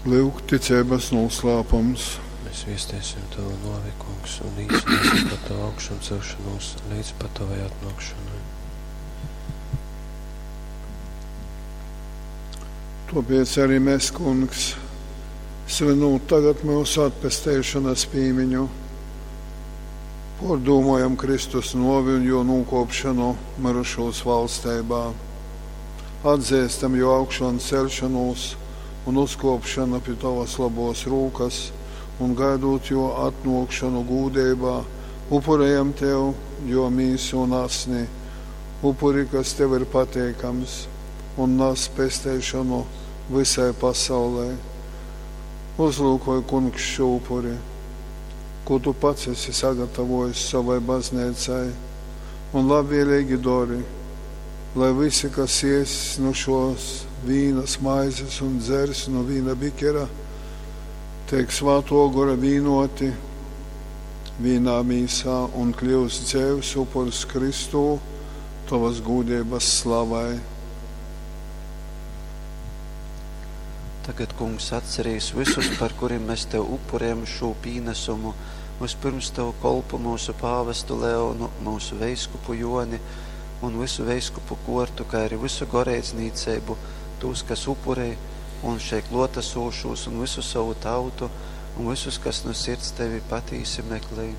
Lyuk, ticeibas nūslāpums. Mēs viestiesim Tavu nōvi, Kungs, un līcināsim par Tavu augšamcelšanos līdz pat Tavai atnākšanai. Tāpēc arī mēs, Kungs, svinot tagad mūsu atpesteišanas pīmiņu, Pōrdūmojam Kristus novi un jo nūkopšanu mirušūs valsteibā. Atzīstam jo augšanu celšanos un uzkopšanu pie Tavas labos rūkas un gaidot jo atnākšanu gūdeibā, upurējam Tev jo mīsu un asni, upuri, kas Tev ir pateikams un nes pesteišanu visai pasaulē. Uzlūkoj, Kungs, šo upuri, ko Tu pats esi sagatavojis savai baznīcai, un labvēlīgi dori, lai visi, kas ies no šos vīnas maizes un dzers no vīna bikera, tiek svāto gora vīnoti vīnā mīsā un kļūst dzēvs upurs Kristū, Tavas gūdības slavai. Tagad, Kungs, atcerīs visus, par kuriem mēs Tev upurējam šo pīnesumu, vispirms Tavu kolpu mūsu pāvestu Leonu, mūsu veiskupu Joni un visu veiskupu kortu, kā arī visu goreidznīcību, tos, kas upurē, un šeit klotasūšos un visu savu tautu, un visus, kas no sirds Tevi patīsi meklē.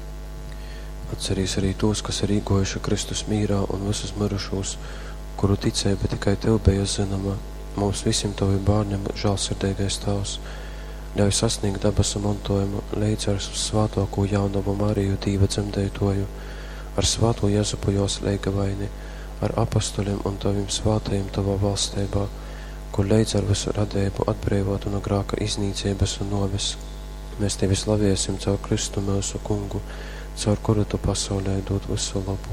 Atcerīs arī tos, kas ir īgojuši Kristus mīrā un visus mirušos, kuru ticība tikai Tev bija zināma. Mums visiem Tavi bērniem žēlsirdīgais Tēvs, ļauj sasniegt dabasu mantojumu līdz ar svātāko jaunavu Mariju Dīva dzemdētoju, ar svāto Jezupu jos leigavaini, ar apostoļiem un Taviem svātajiem Tavā valstībā, kur līdz ar visu radību atbrīvotu no grāka iznīcības un noves. Mēs Tevi slaviesim caur Kristu mūsu kungu, caur kuru Tu pasaulē dod visu labu.